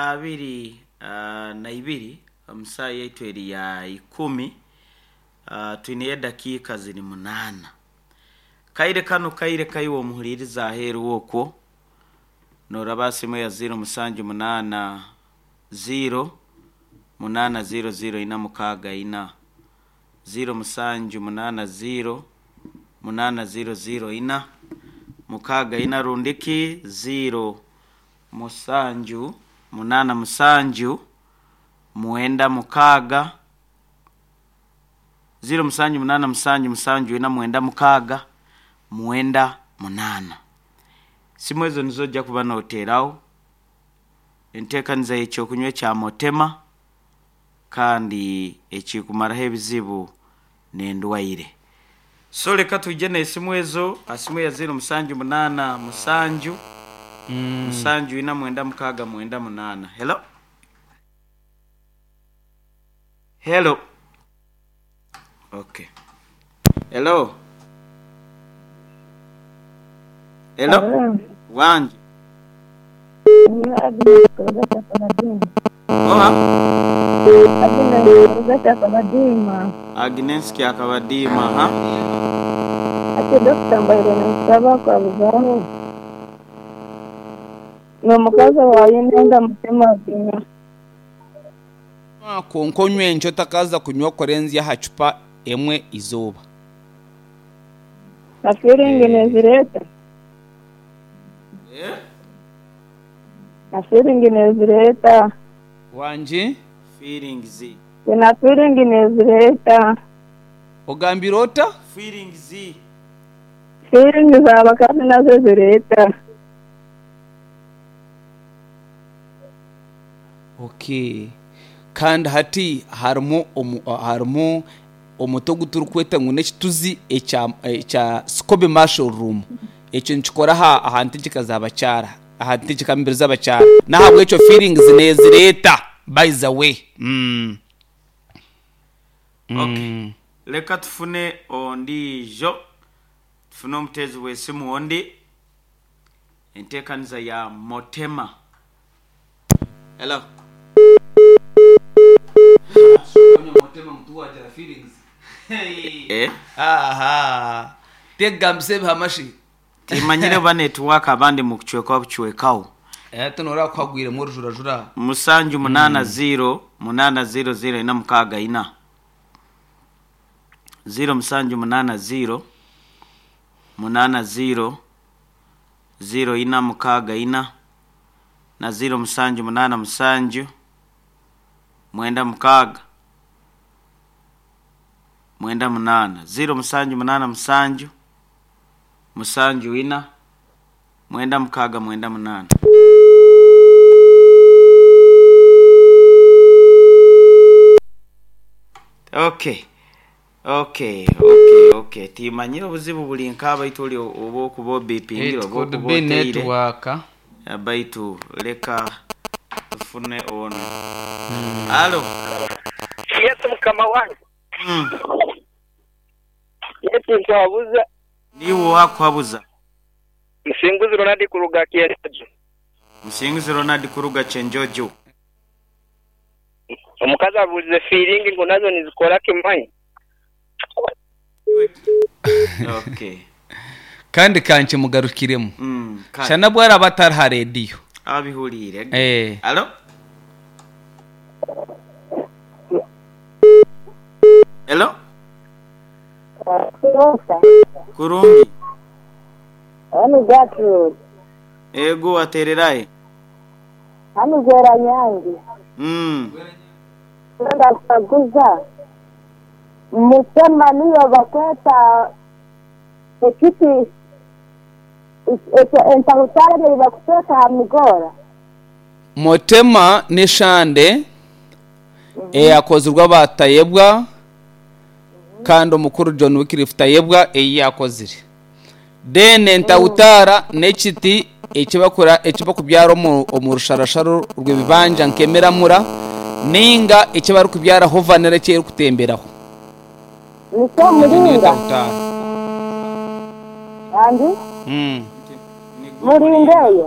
22 omu saaha yaitu eri ya 10, twineyo edakiika ziri munaana. Kaire kanu kaire kaiwe omuhuriiriza aheeru okwo, nooraba aha simu eya 0780 800 464, 0780 800 464 rundi ki 07 87 96 0787 74 96 98. Simu ezo nizo oja kuba noteeraho enteekaniza y'ekyokunywa ekya Motema kandi ekikumaraho ebizibu n'endwaire. So leka twije n'esimu ezo aha simu eya 0787 74 98. Hello? Hello? Okay. Hello? Hello? Hello. Wangi. Ni Agnes kuruga Kyakabadima. Oha? Agnes kuruga Kyakabadima. Agnes Kyakabadima, ha? Ati dokita mbaire ninsaba kwabuzaho. N'omukazi owaaye nenda mutima gunya. Kwonka onywe nkye otakaza kunywa kurenzya aha cupa emwe eizooba. Na feeling nezireeta? Eh? Na feeling nezireeta? Wangi? Feelings. Na feeling nezireeta? Ogambire ota? Feelings. Feeling z'abakazi nazo zireeta. Okay. Kandi hati harimu omu, harimu omuti ogu turikweta ngu n'ekituzi ekya ekya Scoby Mushroom. Ekyo nikikora aha aha ntegyeka z'abakyara, aha ntegyeka mibiri z'abakyara. N'ahabw'ekyo feelings neezireeta by the way. Mm. Okay. Mm. Leka tufune ondiijo. Tufune omuteezi w'esimu ondi. Enteekaniza ya Motema. Hello. Eh? Aha. Tegambisa ebihama shi. Timanyire oba netiwaaka abandi mukucwekwa bucwekaho. Hati noreeba ku hagwiremu orujurajura. Musanju munaana ziiro munaana ziiro ziiro ina mukaaga ina. Ziiro musanju munaana ziiro munaana ziiro ziiro ina mukaaga ina na ziiro musanju munaana musanju mwenda mukaaga mwenda munaana. Ziiro musanju munaana musanju musanju ina mwenda mukaaga mwenda munaana. Okay. Okay, okay, okay. Timanyire obuzibu buri nka baitu ori oba okuba obipingire It oba could okuba be oteire. network. Baitu leka tufune ono. Halo. Yes, mukama wange. Yes, nkuhabuza. Niiwe owakuhabuza? Musinguzi Ronald kuruga Kyenjojo. Musinguzi Ronald kuruga Kyenjojo. Omukazi abuuzize fiiringi ngu nazo nizikora kimanyi. Okay. Kandi ka nkimugarukiremu. Kale. Shana obu araabe atari ha rediyo. Abihuriire. Eh. Halo? Hello? Kurungi. Hanu Gertrude. Ego watererahe? Hanu Gweranyangi. Ndakukaguza mutema niyo bakweta ekiti entahutare ei bakuteeka aha migoora? Motema n'eshande eyakozirwe aba Tayebwa kandi omukuru John Wycliffe Tayebwa ei yaakozire. Then entahutara n'ekiti eki bakubyara omu rusharasharo rw'ebibanja nk'emiramura nainga eki barikubyaraho vanilla eki erikutemberaho. Nikyo Egyo niyo muringa? entahutara. Andi? Muringa eyo?